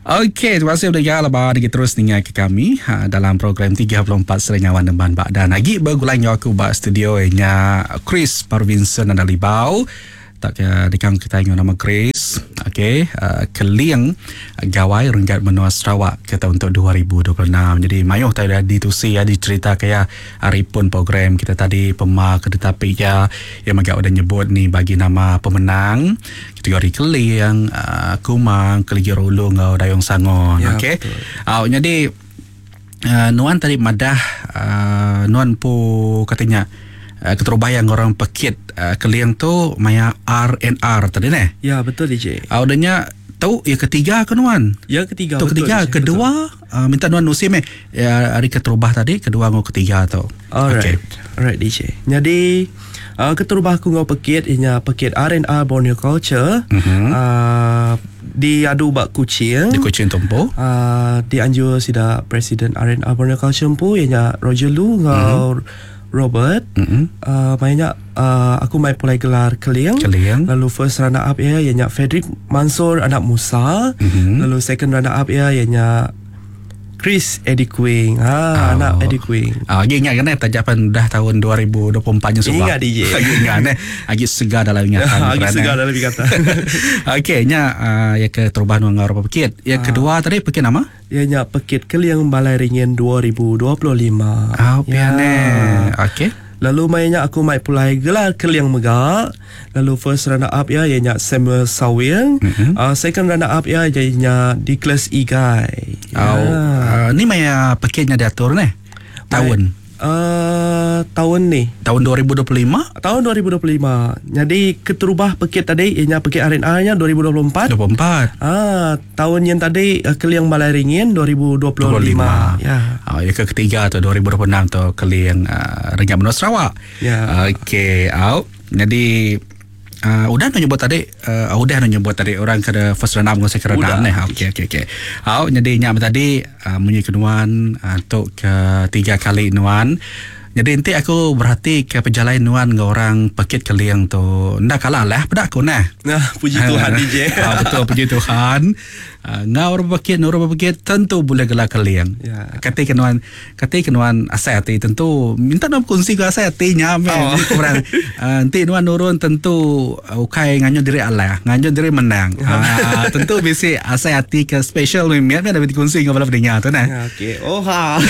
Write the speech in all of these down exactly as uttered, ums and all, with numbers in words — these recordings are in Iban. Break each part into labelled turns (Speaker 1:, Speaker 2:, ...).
Speaker 1: Okey, terima kasih udah lebar lagi terus ninga ke kami ha, dalam program tiga puluh empat Serenyawan Nemban Bak dan lagi bergulai dengan aku ba studio nya Chris Parvinson dan Libau. Tak ke dikang kita ingat nama Chris. Okey, uh, Keling Gawai Renggat Menua Sarawak kita untuk dua ribu dua puluh enam. Jadi mayuh tadi dah ditusi ya dicerita kaya hari pun program kita tadi pema ketetapi ya yang agak udah nyebut ni bagi nama pemenang kategori Keling, uh, Kumang, Keligi Rolong ngau Dayung Sangon.
Speaker 2: Ya,
Speaker 1: okey. Uh, jadi uh, nuan tadi madah uh, nuan pu katanya Uh, keterubah yang orang pekit uh, Keling tu maya R N R tadi ne.
Speaker 2: Ya betul D J.
Speaker 1: Uh, udahnya tu ya ketiga ke nuan?
Speaker 2: Ya ketiga.
Speaker 1: Tu
Speaker 2: betul,
Speaker 1: ketiga,
Speaker 2: D J,
Speaker 1: kedua
Speaker 2: betul.
Speaker 1: Uh, minta nuan nusim eh ya, hari keterubah tadi, kedua ngau ketiga tu.
Speaker 2: Alright.
Speaker 1: Okay.
Speaker 2: Alright D J. Jadi uh, keterubah aku ngau pekit ianya pekit R N R Borneo Culture.
Speaker 1: Mm-hmm.
Speaker 2: Uh, diadu bak Kuching.
Speaker 1: Di Kuching Tumpu.
Speaker 2: Uh, dianjur sida Presiden R N R Borneo Culture empu ianya Roger Lu ngau
Speaker 1: mm-hmm.
Speaker 2: Robert.
Speaker 1: Mm-hmm.
Speaker 2: Uh, mainnya uh, aku main pulai gelar Keling.
Speaker 1: Keling.
Speaker 2: Lalu first runner up ya ianya Frederick Mansur anak Musa.
Speaker 1: Mm-hmm.
Speaker 2: Lalu second runner up ya ianya Chris Eddie Queen. Ha,
Speaker 1: oh.
Speaker 2: Anak Eddie Queen.
Speaker 1: Ah, lagi ingat kan eh tajapan dah tahun dua ribu dua puluh empat nya sebab.
Speaker 2: Ingat D J.
Speaker 1: Lagi ingat eh. Lagi segar dalam ingatan.
Speaker 2: Lagi segar dalam ingatan.
Speaker 1: Okey, nya uh, ya ke terubahan wang berapa pekit. Yang
Speaker 2: ah.
Speaker 1: kedua tadi pekit nama?
Speaker 2: Ya nya pekit Keling Balai Ringin dua ribu dua puluh lima.
Speaker 1: Ah, piane.
Speaker 2: Ya.
Speaker 1: Okey.
Speaker 2: Lalu mainnya aku mai pulai gelar Keling mega. Lalu first runner up ya ianya Samuel Sawing.
Speaker 1: Mm-hmm.
Speaker 2: Uh, second runner up ya ianya Dikles Igai.
Speaker 1: Oh,
Speaker 2: Ya.
Speaker 1: uh, ni maya pekitnya diatur ni. Tahun.
Speaker 2: Uh, tahun ni.
Speaker 1: Tahun dua ribu dua puluh lima?
Speaker 2: Tahun dua ribu dua puluh lima. Jadi keterubah pekit tadi ianya pekit R N R nya dua ribu dua puluh empat.
Speaker 1: dua puluh empat.
Speaker 2: Ah, tahun yang tadi Keling Balai Ringin dua ribu dua puluh lima. Ya.
Speaker 1: Ah, yang ketiga tu dua ribu dua puluh enam tu Keling uh, Renggat Menua Sarawak.
Speaker 2: Ya.
Speaker 1: Okey, out. Jadi Uh, udah nak nyebut tadi uh, udah nak nyebut tadi orang kena first round up second round ni. Okey okey okey. Au jadi nyak tadi uh, munyi kenuan uh, untuk ke tiga kali nuan. Jadi nanti aku berhati ke perjalanan nuan dengan orang pekit Keling tu. Ndak kalah lah pada aku nah.
Speaker 2: Nah, puji Tuhan D J.
Speaker 1: Ah, betul puji Tuhan. Uh, ngau orang pekit, orang pekit tentu boleh gelar Keling.
Speaker 2: Ya.
Speaker 1: Kata kenuan, kata kenuan asai hati tentu minta nak kongsi ke asai hatinya me.
Speaker 2: Oh.
Speaker 1: Jadi kurang uh, nanti nuan nurun tentu uh, ukai nganyo diri alah, nganyo diri menang. Uh, tentu bisi asai hati ke special mimiat ada dikongsi dengan bala pendengar tu nah.
Speaker 2: Ya, okey. Oh ha.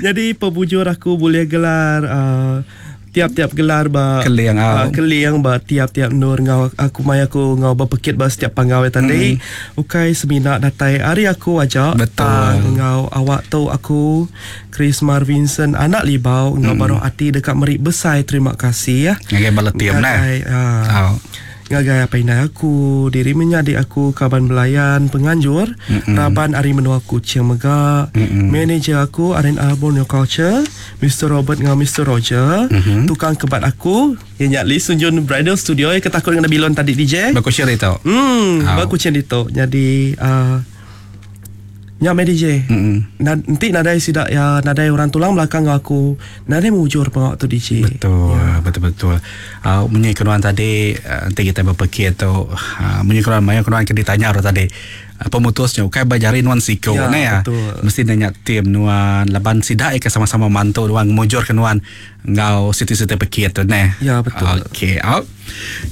Speaker 2: Jadi pebujur aku boleh gelar uh, tiap-tiap gelar ba
Speaker 1: Keling
Speaker 2: uh, Keling ba tiap-tiap nur ngau aku mai aku ngau berpekit ba setiap panggau tadi.
Speaker 1: Mm.
Speaker 2: Ukai semina datai hari aku aja.
Speaker 1: Betul.
Speaker 2: Ngau awak tu aku Chris Marvinson anak Libau ngau
Speaker 1: mm.
Speaker 2: baru hati dekat merik besar terima kasih ya.
Speaker 1: Ngagai bala tiap nah.
Speaker 2: Uh,
Speaker 1: oh.
Speaker 2: Ngagai apa inai aku, diri menyadik aku, kaban belayan, penganjur,
Speaker 1: Mm-mm.
Speaker 2: Raban Ari Menua Kuching mega,
Speaker 1: Mm-mm.
Speaker 2: manager aku R N R Borneo Culture, Mister Robert dengan Mister Roger,
Speaker 1: mm-hmm.
Speaker 2: tukang kebat aku, yang nyak Lee Sunjun Bridal Studio yang ketakut dengan bilon tadi D J.
Speaker 1: Baku share itu.
Speaker 2: Hmm,
Speaker 1: Oh.
Speaker 2: baku share itu. Jadi uh, nyak me D J.
Speaker 1: Mm-mm.
Speaker 2: Na, nanti nadai sidak ya nadai orang tulang belakang aku nadai mujur pengawak tu D J.
Speaker 1: Betul, ya. Betul-betul. Uh, munyi kenuan tadi uh, nanti kita berpikir tu uh, munyi kenuan maya kenuan kena ditanya orang tadi. Uh, pemutusnya ukai bajari nuan siko
Speaker 2: ya,
Speaker 1: ne ya.
Speaker 2: Betul.
Speaker 1: Mesti nanya tim nuan laban sidak ke sama-sama mantu nuan mujur ke nuan ngau siti-siti pekir tu ne.
Speaker 2: Ya betul.
Speaker 1: Okey, out.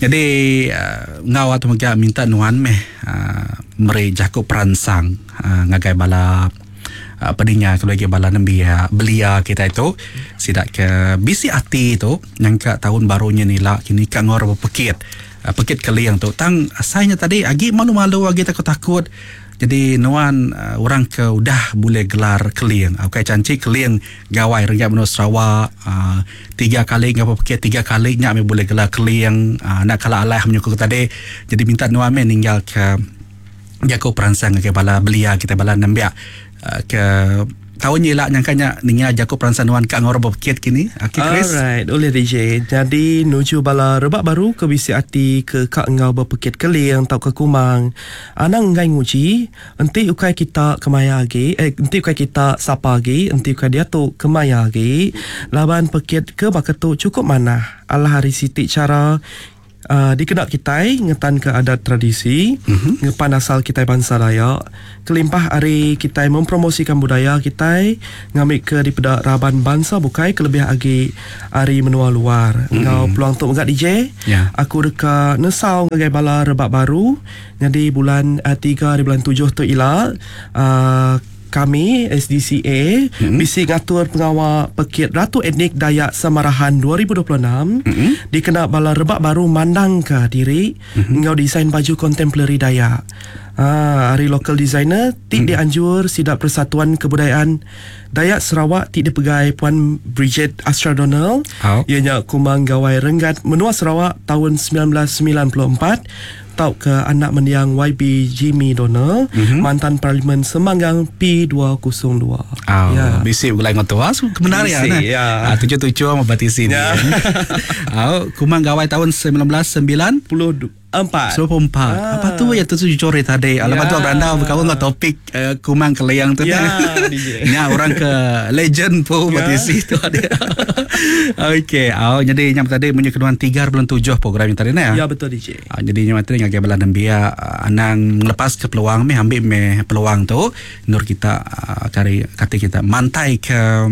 Speaker 1: Jadi uh, ngau atau mega minta nuan meh uh, meri jaku peransang uh, ngagai bala uh, pedinya kalau lagi bala nembia belia kita itu sidak ke bisi hati tu nyangka tahun barunya ni lah kini ka ngor pekit uh, pekit Keling tu tang asalnya tadi agi malu-malu agi takut-takut. Jadi nuan uh, orang ke udah boleh gelar Keling. Okey cantik Keling Gawai Renggat Menua Sarawak uh, tiga kali ngapa pekit tiga kali nyak me boleh gelar Keling uh, nak kalah alah menyokong tadi. Jadi minta nuan me ninggal ke jago peransang ke bala belia kita bala nembiak uh, ke tahun ni lah nyangkanya ninga jago peransang nuan kat ngor berpekit kini. Okey Chris.
Speaker 2: Alright, oleh D J. Jadi nuju bala rebak baru ke bisi ati ke kak ngau berpekit Keling tau ke Kumang. Anang ngai nguji, enti ukai kita kemaya agi, eh enti ukai kita sapa agi, enti ukai dia tu kemaya agi. Laban pekit ke baketu cukup manah. Alah hari siti cara Uh, dikena kitai ngetan ke adat tradisi, mm-hmm. ngepan asal kitai bangsa Dayak, kelimpah hari kitai mempromosikan budaya kitai ngambil ke daripada raban bangsa bukai kelebih agi hari menua luar. Mm-hmm. Ngau peluang tu megak D J,
Speaker 1: yeah.
Speaker 2: Aku deka nesau ngagai bala rebak baru. Jadi bulan uh, tiga hari bulan tujuh tu ila uh, kami S D C A mm-hmm. bisi ngatur pengawal Pekit Ratu Etnik Dayak Samarahan dua ribu dua puluh enam mm-hmm. dikena bala rebak baru mandang ke diri mm-hmm. ngau desain baju kontemporari Dayak. Ah, hari local designer ti mm-hmm. dianjur sidak Persatuan Kebudayaan Dayak Sarawak ti dipegai Puan Bridget Astra Donald.
Speaker 1: Oh.
Speaker 2: Ianya Kumang Gawai Renggat Menua Sarawak tahun sembilan belas sembilan puluh empat tau ke anak mendiang Y B Jimmy Donald,
Speaker 1: mm-hmm.
Speaker 2: mantan Parlimen Semanggang P dua kosong dua.
Speaker 1: Oh, ya. Bisi ulai ngotua kebenar ya.
Speaker 2: Ya.
Speaker 1: Ah, tujuh-tujuh sama batisi ni.
Speaker 2: Ya.
Speaker 1: Oh, Kumang Gawai tahun sembilan belas sembilan
Speaker 2: puluh empat.
Speaker 1: Sembilan puluh empat.
Speaker 2: Ah.
Speaker 1: Apa tu ya tu jujur tadi.
Speaker 2: Ya.
Speaker 1: Alamat tu beranda berkawan dengan topik uh, Kumang Keliang tu.
Speaker 2: Ya, D J.
Speaker 1: Ya, orang ke legend pun
Speaker 2: ya.
Speaker 1: Batisi tu ada. Okey, oh, jadi nyam tadi punya keduan tiga bulan tujuh program yang tadi nah.
Speaker 2: Ya, betul D J.
Speaker 1: Uh, jadi nyam tadi ngagai bala nembiak uh, anang lepas ke peluang meh ambil meh peluang tu nur kita uh, kari kata kita mantai ke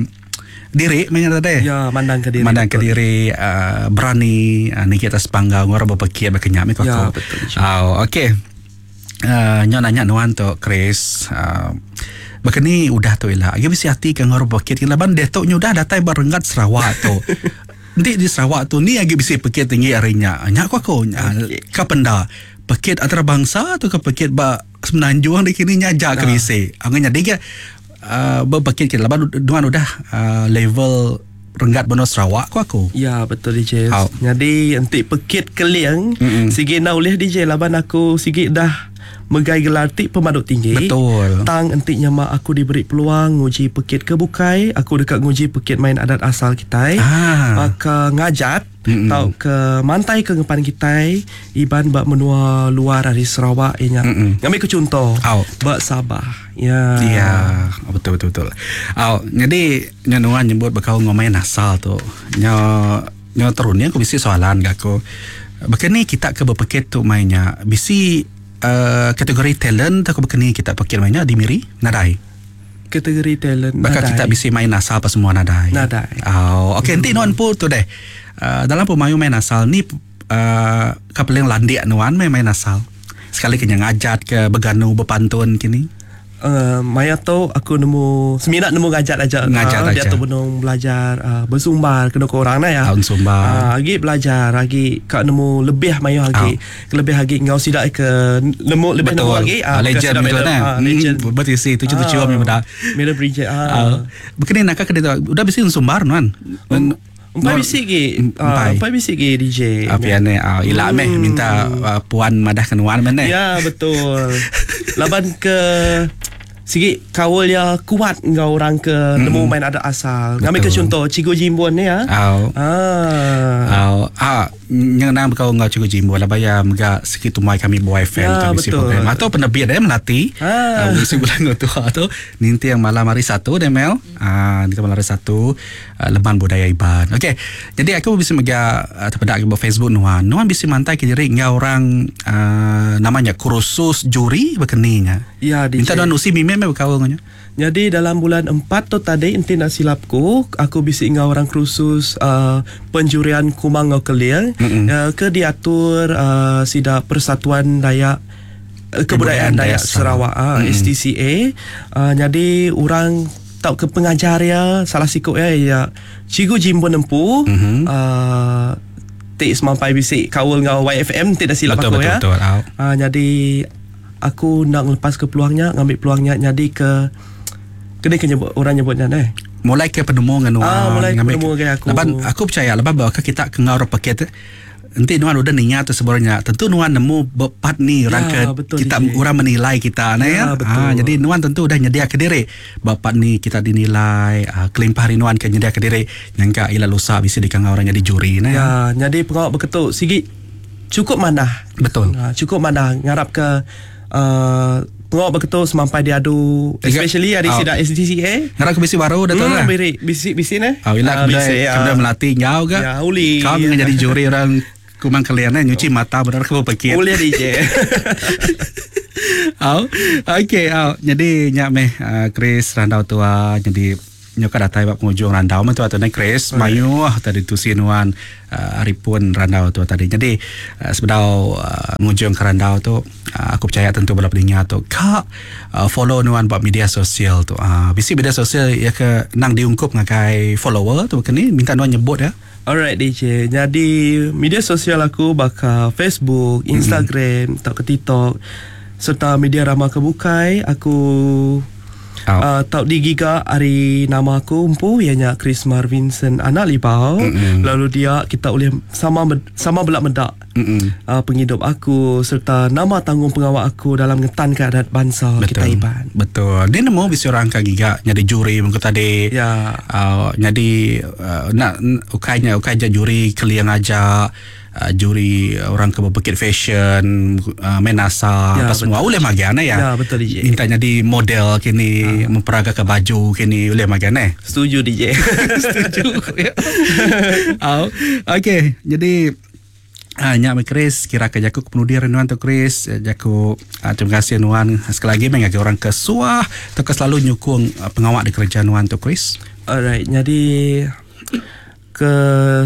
Speaker 1: diri mainnya tadi.
Speaker 2: Ya, mandang ke diri.
Speaker 1: Mandang ke
Speaker 2: betul.
Speaker 1: diri uh, berani uh, ni kita sepanggang orang berpekir berkenyak me
Speaker 2: Ya, betul.
Speaker 1: Oh, okey. Uh, nyo nanya nuan tu Chris. Uh, Bekeni udah tu ila. Agi bisi hati ke ngor berpekir laban dia tu udah datai barenggat Sarawak tu. Nanti di Sarawak tu ni agi bisi pekir tinggi harinya. Nyak aku aku
Speaker 2: okay.
Speaker 1: Ka penda pekir antarabangsa tu ke pekir ba Semenanjung di kini nyajak ke bisi. Angin jadi ke Uh, berpekir kita laban duan udah uh, level renggat benua Sarawak ku aku.
Speaker 2: Ya, betul D J.
Speaker 1: Oh.
Speaker 2: Jadi entik pekit keliang sigi na ulih D J laban aku sigi dah megai gelar ti pemaduk tinggi.
Speaker 1: Betul.
Speaker 2: Tang entik nyama aku diberi peluang nguji pekit ke bukai, aku dekat nguji pekit main adat asal kitai.
Speaker 1: Ah.
Speaker 2: Maka ngajat
Speaker 1: Mm-mm.
Speaker 2: tau ke mantai ke ngepan kitai iban bak menua luar dari Sarawak inya. Ngambil ke contoh
Speaker 1: oh.
Speaker 2: bak Sabah. Ya.
Speaker 1: Ya, betul betul betul. Oh, jadi nyanuan nyebut bekau ngomain asal tu. Nyo nyo turunnya aku bisi soalan gak aku. Bekeni kita ke berpekit tu mainnya bisi uh, kategori talent atau bekeni kita pekit mainnya di Miri nadai.
Speaker 2: Kategori talent
Speaker 1: Bakal
Speaker 2: nadai.
Speaker 1: Kita bisi main asal apa semua nadai.
Speaker 2: Nadai.
Speaker 1: Oh, okey nanti nuan pun tu deh. Uh, dalam pemayu main asal ni uh, kapeling landik nuan main main asal. Sekali kena ngajat ke beganu berpantun kini.
Speaker 2: Uh, maya tu aku nemu seminat nemu ngajat aja.
Speaker 1: Ngajat
Speaker 2: uh,
Speaker 1: aja.
Speaker 2: Dia tu benung belajar uh, bersumbar kena ke orang lah ya.
Speaker 1: Tahun sumbar.
Speaker 2: Uh, lagi belajar lagi kak nemu lebih mayu lagi.
Speaker 1: Oh.
Speaker 2: Lebih lagi ngau sidak ke nemu lebih
Speaker 1: betul.
Speaker 2: Nemu lagi.
Speaker 1: Uh, legend betul kan.
Speaker 2: Uh, legend.
Speaker 1: Hmm, betul sih tujuh tujuh uh, memang dah.
Speaker 2: Mira Bridget.
Speaker 1: Uh. Uh, Begini nak ke dia udah bisi sumbar nuan.
Speaker 2: Um, Empat bisi ke Empat bisi ke D J.
Speaker 1: Apa yang ni uh, Ila meh minta uh, puan madah ke nuan mana.
Speaker 2: Ya betul. Laban ke sigi kawal ya kuat ngau orang ke mm. nemu main adat asal. Ngambil ke contoh Cikgu Jimbun ni ya.
Speaker 1: Au.
Speaker 2: Ah.
Speaker 1: Au. Ah, nyenang bekau ngau Cikgu Jimbun lah bayar mega sikit tumai kami boy F M
Speaker 2: ya,
Speaker 1: kami si program atau penerbit dia melati.
Speaker 2: Ah.
Speaker 1: Uh, si bulan tu tu ninti yang malam hari Satu deh Mel. Ah, ninti malam hari Satu uh, Leman Budaya Iban. Okey. Jadi aku bisa mega uh, terpedak ke Facebook nuan. Nuan bisa mantai ke diri ngau orang uh, namanya kursus juri berkeninya.
Speaker 2: Ya, D J.
Speaker 1: Minta nuan usi mimem bekau nganya.
Speaker 2: Jadi dalam bulan empat tu tadi enti nak silapku aku bisi ngau orang kursus uh, penjurian Kumang ngau Keliang uh, ke diatur uh, sida Persatuan Dayak uh, Kebudayaan Dayak Sarawak uh, S D C A. Uh, jadi orang tau ke pengajar ya salah sikok ya ya Cikgu Jimbun Empu
Speaker 1: mm-hmm.
Speaker 2: uh, tik semampai bisi kawal ngau Y F M tidak silap
Speaker 1: betul,
Speaker 2: aku
Speaker 1: betul,
Speaker 2: ya.
Speaker 1: Betul, betul.
Speaker 2: Uh, jadi aku nak lepas ke peluangnya, ngambil peluangnya jadi ke kena ke nyebut orang nyebutnya deh.
Speaker 1: Mulai ke penemu dengan
Speaker 2: ah, mulai ke penemu ke aku.
Speaker 1: Laban aku percaya laban bahwa kita ke ngau paket nanti nuan udah ningat tu sebenarnya tentu nuan nemu bepat ni orang
Speaker 2: ya,
Speaker 1: ke
Speaker 2: betul,
Speaker 1: kita
Speaker 2: D J.
Speaker 1: Orang menilai kita nah
Speaker 2: ya,
Speaker 1: ya.
Speaker 2: Betul.
Speaker 1: Ah, jadi nuan tentu udah nyedia ke diri bapak ni kita dinilai ah, kelimpah hari nuan ke nyedia ke diri nyangka ila lusa bisa dikangau orang jadi juri nah.
Speaker 2: Ya, jadi pengawak berketuk sigi cukup manah.
Speaker 1: Betul.
Speaker 2: Ha, cukup manah ngarap ke Uh, pengawak berketuk semampai diadu especially hari
Speaker 1: oh.
Speaker 2: sidak S D C A.
Speaker 1: Ngarap ke bisi baru dah tahu
Speaker 2: hmm,
Speaker 1: lah.
Speaker 2: Bisi bisi bisi ne.
Speaker 1: Oh, ila
Speaker 2: uh,
Speaker 1: kemudian uh, melati ngau ke.
Speaker 2: Ya, uli.
Speaker 1: Kau dengan jadi juri orang Kumang kalian eh nyuci mata benar ke berpikir.
Speaker 2: Boleh D J.
Speaker 1: Oh, okey, oh. Jadi nyak meh uh, Chris randau tua jadi nyoka datai bab penghujung randau meh tua tu ne Chris. Mayuh tadi tu sinuan uh, hari pun randau tu tadi. Jadi uh, sebedau uh, ngujung ke randau tu uh, aku percaya tentu bala peninga tu kak uh, follow nuan bab media sosial tu. Uh, bisi media sosial ya ke nang diungkup ngagai follower tu kini minta nuan nyebut ya.
Speaker 2: Alright D J. Jadi media sosial aku bakal Facebook, Instagram, mm-hmm. tak ke TikTok serta media ramah kebukai aku
Speaker 1: Oh.
Speaker 2: Uh, tau digiga hari nama aku empu ianya Chris Marvinson anak Libau. Mm-hmm. Lalu dia kita boleh sama sama belak medak mm-hmm. uh, penghidup aku serta nama tanggung pengawal aku dalam ngetan keadaan bangsa.
Speaker 1: Betul.
Speaker 2: Kita Iban.
Speaker 1: Betul. Dia nemu bisi orang ka giga nyadi juri mengko tadi.
Speaker 2: Ya.
Speaker 1: Uh, nyadi uh, nak ukainya ukai je juri keliang aja. Uh, juri orang ke berpekit fashion uh, menasa
Speaker 2: ya,
Speaker 1: apa semua boleh magian ya.
Speaker 2: Ya betul D J.
Speaker 1: Minta jadi model kini ha. Memperagakan baju kini boleh magian eh.
Speaker 2: Setuju D J.
Speaker 1: Setuju. Ya. Oh, okey, jadi Ah, nyak Chris kira ke jaku kemudian nuan tu Chris jaku uh, terima kasih nuan sekali lagi mengagai orang ke suah atau ke selalu nyukung uh, pengawak di kerja nuan tu Chris.
Speaker 2: Alright, jadi ke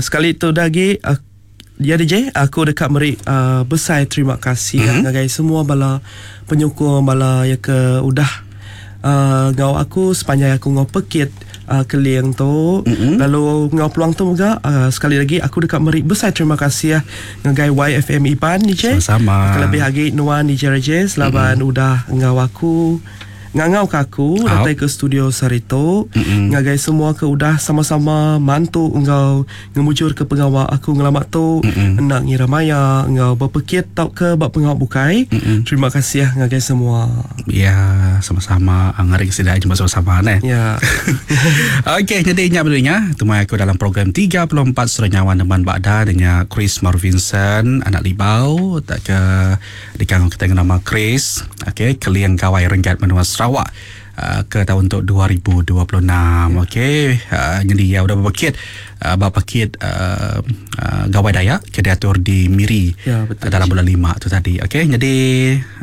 Speaker 2: sekali tu lagi uh, ya D J, aku dekat meri uh, besar terima kasih mm-hmm. ngagai semua bala penyokong bala yang ke udah uh, ngau aku sepanjang aku ngau pekit uh, keliang tu. Mm-hmm. Lalu ngau peluang tu juga uh, sekali lagi aku dekat meri besar terima kasih ngagai Y F M Iban D J.
Speaker 1: Sama-sama.
Speaker 2: Kelebih lagi nuan D J Rajesh laban mm-hmm. udah ngau aku ngangau ke aku datang ke studio Sarito. Mm-hmm. Ngagai semua ke udah sama-sama mantu engau ngemujur ke pengawal aku ngelamak tu. Mm-hmm. Nak ngira maya engau berpekit tau ke bab pengawal bukai. Mm-hmm. Terima kasih ngagai semua.
Speaker 1: Ya, sama-sama ngaring sida jumpa sama-sama ne.
Speaker 2: Ya.
Speaker 1: Okey, jadi ingat benunya temui aku dalam program tiga puluh empat Suara Nyawa Neman Bakda dengan Chris Marvinson anak Libau tak ke dikangau kita dengan nama Chris. Okey, Keliang Gawai Renggat Menua Sarawak uh, ke tahun untuk dua ribu dua puluh enam. Ya. Okey, uh, jadi ya udah berpekit uh, berpekit uh, uh, Gawai Dayak ke diatur di Miri.
Speaker 2: Ya, betul.
Speaker 1: Uh, dalam bulan lima tu tadi. Okey, jadi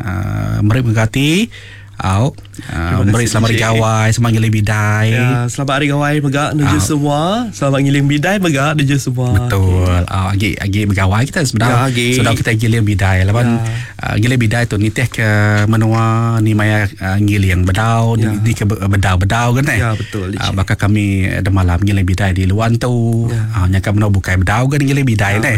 Speaker 1: uh, meri mengati au uh, meri selamat hari gawai, selamat ngiling bidai.
Speaker 2: Ya, selamat hari gawai megak nuju semua. Selamat ngiling bidai megak nuju semua.
Speaker 1: Betul. Okay. Uh, agi agi begawai kita sebenarnya.
Speaker 2: Ya,
Speaker 1: sudah kita giling bidai. Laban
Speaker 2: ya.
Speaker 1: uh, giling bidai tu nitih ke menua ni maya uh, ngiling bedau
Speaker 2: ya.
Speaker 1: di, di ke bedau-bedau kan eh.
Speaker 2: Ya, betul.
Speaker 1: Uh, bakal kami ada malam ngiling bidai di luan tu.
Speaker 2: Ya.
Speaker 1: Uh, nyaka menua bukai bedau kan ngiling bidai
Speaker 2: ya,
Speaker 1: ne.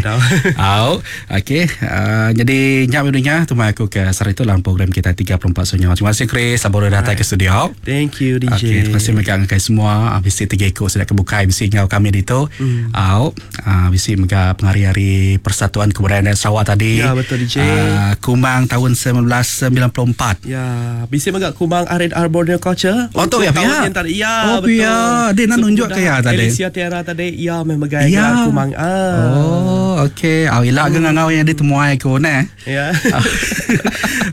Speaker 1: Au, okey. Uh, jadi nyak dunia tu aku ke sari tu dalam program kita tiga puluh empat Sunyawa. Terima kasih Chris, baru datang ke studio.
Speaker 2: Thank you D J.
Speaker 1: Okey, terima kasih mega ngagai semua. Bisi tiga ekor sudah kebukai bisi ngau kami ditu.
Speaker 2: Mm.
Speaker 1: Au, bisi mega pengari-hari Persatuan Kebudayaan Sarawak tadi.
Speaker 2: Ya, betul D J.
Speaker 1: Uh, Kumang tahun sembilan belas sembilan puluh empat.
Speaker 2: Ya, bisi mega Kumang R and R Borneo Culture.
Speaker 1: Oh, tu ya,
Speaker 2: tahun yang tadi. Ya,
Speaker 1: oh,
Speaker 2: betul.
Speaker 1: Ya, dia nak nunjuk ke ya tadi.
Speaker 2: Alicia Tiara tadi, ya memang megai
Speaker 1: ya.
Speaker 2: Kumang. Ah.
Speaker 1: Oh, okey. Au ilak ke ngau yang ditemuai aku ne.
Speaker 2: Ya.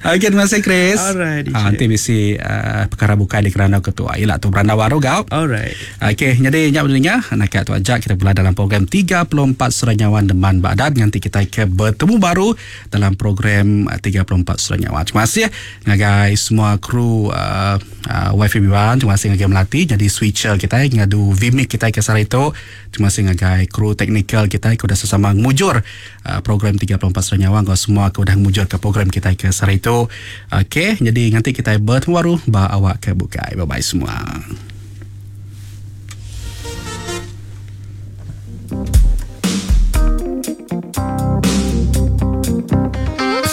Speaker 1: Okey, terima kasih Chris.
Speaker 2: Alright, D J.
Speaker 1: Ah, nanti bisi uh, perkara bukai di kerana ketua ilak tu beranda baru gau.
Speaker 2: Alright.
Speaker 1: Okey, jadi nyak berdengar nak tu ajak kita pula dalam program tiga puluh empat Suara Nyawa Deman Bagdad. Nanti kita ke bertemu baru dalam program tiga puluh empat Suara Nyawa. Terima kasih ngagai semua kru uh, uh, Y F M Iban, terima kasih ngagai Melati jadi switcher kita ngadu Vimic kita ke sari itu. Terima kasih ngagai kru teknikal kita ke dah sesama mujur uh, program tiga puluh empat Suara Nyawa. Kau semua ke dah mujur ke program kita ke sari itu. Okey, jadi nanti kita bertemu baru ba awak ke bukai. Bye bye semua.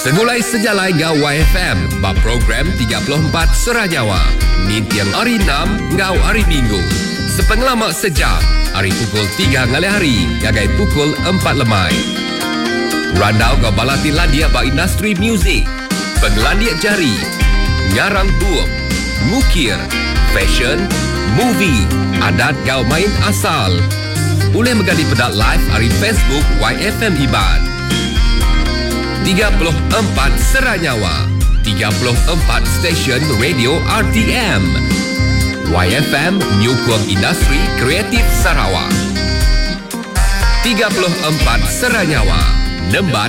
Speaker 3: Segulai sejalai ngau Y F M ba program tiga puluh empat Suara Nyawa. Nintiang hari enam ngau hari Minggu. Sepengelama sejam, hari pukul tiga ngalih hari ngagai pukul empat lemai. Randau ngau balati landia ba industri muzik. Penglandia jari, ngarang bup, ngukir, fashion, movie, adat gau main asal. Boleh menggali pedak live hari Facebook Y F M Iban. tiga puluh empat Sera Nyawa, tiga puluh empat Stesen Radio R T M. Y F M Nyukung Industri Kreatif Sarawak. tiga puluh empat Sera Nyawa, Nemban.